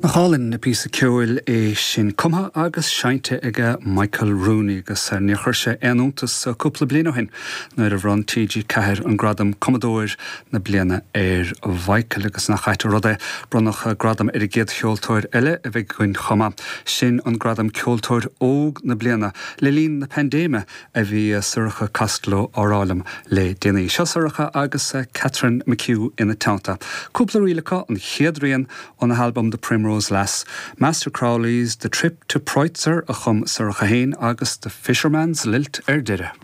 Nach álainn an píosa ceoil é sin, cumtha agus seinnte aige Michael Rooney agus níor chuir sé aon iontas cúpla bliain ó shin nuair a bhronn TG4 an gradam Cumadóir na Bliana ar Mhichael agus nach ait an rud é, bronnadh gradam ar an gcéad cheoltóir eile a bheidh againn chomh maith, sin an gradam Ceoltóir Óg na Bliana le linn na paindéime a bhí Sorcha Costello á rá liom le déanaí. Seo Sorcha agus Catherine McHugh ina teannta. Cúpla ríl acu, an chéad rian óna halbam The Primrose Lass, Master Crowley's The Trip to Preutzer a chum Sorcha féin agus The Fisherman's Lilt ar deireadh.